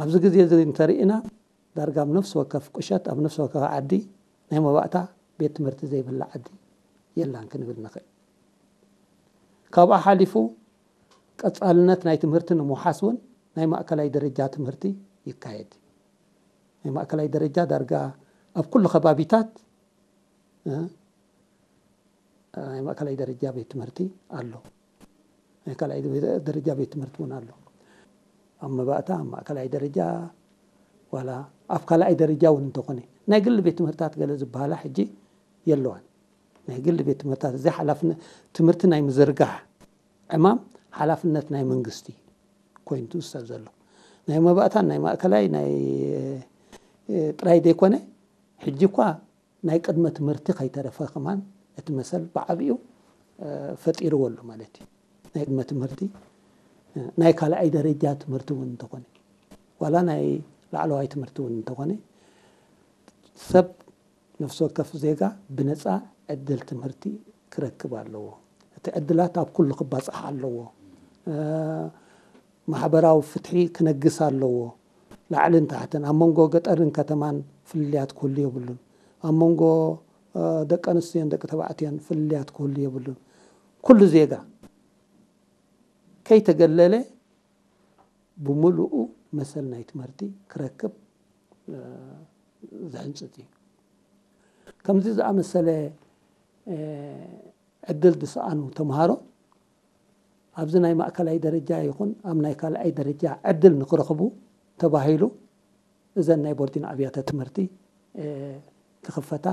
ኣብዚ ግዜ እዚ እንተርኢና ዳርጋ ኣብ ነፍሲ ወከፍ ቁሸት ኣብ ነፍሲ ወከፍ ዓዲ ናይ መባእታ ቤት ትምህርቲ ዘይብላ ዓዲ የላን ክንብል ንኽእል። ካብኣ ሓሊፉ ቀጻልነት ናይ ትምህርቲ ንምውሓስ እውን ናይ ማእከላይ ደረጃ ትምህርቲ ይካየድ። ናይ ማእከላይ ደረጃ ዳርጋ ኣብ ኩሉ ከባቢታት ናይ ማእከላይ ደረጃ ቤት ትምህርቲ ኣሎ። ናይ ካልኣይ ደረጃ ቤት ትምህርቲ እውን ኣሎ። ኣብ መባእታ ኣብ ማእከላይ ደረጃ ዋላ ኣብ ካልኣይ ደረጃ እውን እንተኾነ ናይ ግሊ ቤት ትምህርታት ገለ ዝበሃላ ሕጂ የለዋን። ናይ ግሊ ቤት ትምህርታት እዚ ሓላፍነት ትምህርቲ ናይ ምዝርጋሕ ዕማም ሓላፍነት ናይ መንግስቲ ኮይኑ ትውሰድ ዘሎ ናይ መባእታን ናይ ማእከላይ ናይ ጥራይ ዘይኮነ ሕጂ እኳ ናይ ቅድመ ትምህርቲ ከይተረፈ ከማን እቲ መሰል ብዓብኡ ፈጢርዎ ኣሎ ማለት እዩ። ናይ ቅድመ ትምህርቲ ናይ ካልኣይ ደረጃ ትምህርቲ እውን እንተኾነ ዋላ ናይ ላዕለዋይ ትምህርቲ እውን እንተኾነ ሰብ ነፍሲ ወከፍ ዜጋ ብነፃ ዕድል ትምህርቲ ክረክብ ኣለዎ። እቲ ዕድላት ኣብ ኩሉ ክባፃሕ ኣለዎ። ማሕበራዊ ፍትሒ ክነግስ ኣለዎ። ላዕልን ታሕትን ኣብ መንጎ ገጠርን ከተማን ፍልልያት ክህሉ የብሉን። ኣብ መንጎ ደቂ ኣንስትዮን ደቂ ተባዕትዮን ፍልልያት ክህሉ የብሉን። ኩሉ ዜጋ ከይተገለለ ብምሉኡ መሰል ናይ ትምህርቲ ክረክብ ዝሕንፅፅ እዩ። ከምዚ ዝኣመሰለ ዕድል ዝሰኣኑ ተምሃሮ ኣብዚ ናይ ማእከላይ ደረጃ ይኹን ኣብ ናይ ካልኣይ ደረጃ ዕድል ንክረኽቡ ተባሂሉ እዘን ናይ ቦርዲን ኣብያተ ትምህርቲ ክኽፈታ